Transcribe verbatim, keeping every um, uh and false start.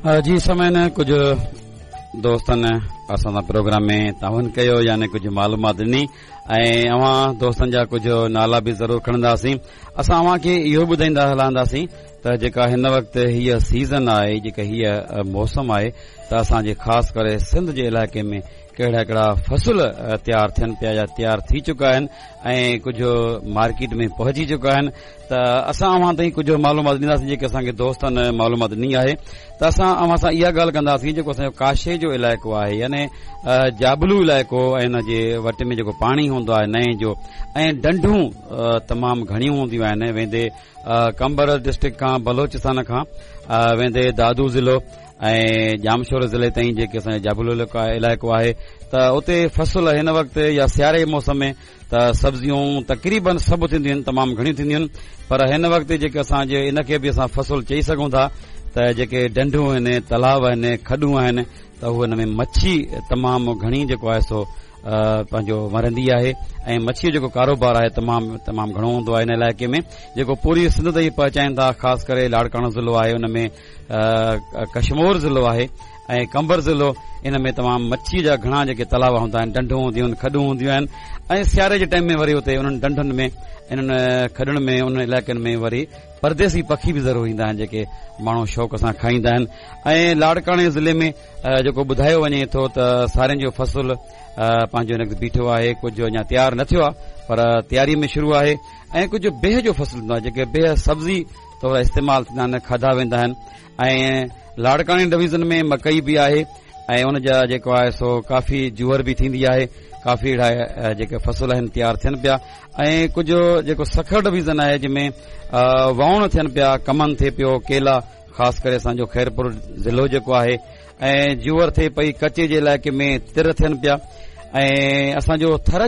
جي سامعين، ڪجهه دوستن اسان سان پروگرام ۾ تعاون ڪيو، يعني ڪجهه معلومات ڏني ۽ اوهان دوستن جا ڪجهه نالا به ضرور کڻنداسين. اسان اوهان کي اهو ٻڌائيندا هلنداسين ته جيڪا هن وقت هيء سيزن آهي، جيڪا هيء موسم آهي، ته اسان جي خاص ڪري سنڌ جي علائقي ۾ ڪهڙا ڪهڙا فصل تيار ٿين پيا يا تيار ٿي چڪا آهن ۽ ڪجهه مارڪيٽ ۾ پهچي چڪا آهن، ته اسان اوهان تائين ڪجهه معلومات ڏينداسين جيڪي اسان کي دوستن معلومات ڏني آهي. ته اسان اوهان سان اها ڳالهه ڪنداسين، جيڪو اسان جو ڪاشي جو علائقو آهي، يعني جابلو علائقو ۽ ان جي وٽ ۾ جيڪو پاڻي هوندو آهي نئين جو ۽ ڍنڍون تمام گهڻيون هونديون آهن، ويندي قمبر ڊسٽرڪٽ کان، بلوچستان کان ويندي دادو ضلعو ۽ ڄامشورو ضلعي تائين جيڪي اسان جو جابلو علائقو آهي، ته اتي فصل هن وقت يا سياري جي موسم ۾ ته سبزيون تقريبن سڀ ٿينديون آهن، تمام گهڻيون ٿينديون آهن. پر هن وقت جيڪي اسان جي ان کي به اسان فصل چئي سگهون ٿا ته جيڪي ڍنڍون آهن، تلاء آهن، کڏون آهن، ته هو هن ۾ مڇي تمام گهڻي جيڪو آهي سو پنهنجو مرندي آهي ۽ مڇيء جو جيڪو ڪاروبار آهي تمام تمام گهڻو هوندو آهي هن علائقي ۾، جيڪو پوري سنڌ تائين پهچائين ٿا. خاص ڪري لاڙڪاڻو ضلعو آهي، ان ۾ ڪشمور ضلعو آهي ۽ قمبر ضلعو، ان ۾ تمام مڇيء جا گهڻا جيڪي تلاء هوندا آهن، ڍنڍون هونديون آهن، کڏون هونديون آهن ۽ سياري جي ٽائيم ۾ وري اتي انهن ڍنڍن ۾، انهن کڏن ۾، انهن علائقن ۾ وري پرديسي پکي به ضرور ايندا آهن جيڪي ماڻهو شوق سان کائيندا آهن. ۽ لاڙڪاڻي ضلعي ۾ جيڪو ٻڌايو وڃي ٿو ته سارين جو فصل پنهنجو هن وقت بيٺو آهي، ڪجهه اڃا تيار نه ٿيو آهي پر تياري ۾ شروع آهي، ۽ ڪجهه بيهه جو فصل هوندو آهي، جيڪي بيهه سبزي طور استعمال ٿيندا آهن، کاڌا ويندا آهن. ۽ لاڙڪاڻي ڊويزن ۾ مڪئي به آهي ۽ ان جا جيڪو آهي سو ڪافي جوئر به ٿيندي آهي، ڪافي اهڙا جيڪي فصل آهن تيار ٿين پيا. ۽ ڪجهه جيڪو سکر ڊويزن آهي جنهن ۾ ووڻ ٿين پيا، ڪمن ٿئي پيو، ڪيلا، خاص ڪري اسان جو خيرپور ضلعو جيڪو آهي، ۽ جوئر ٿئي پئي. ڪچي جي علائقي ۾ تر ٿين پيا ۽ اسان جو ٿر جو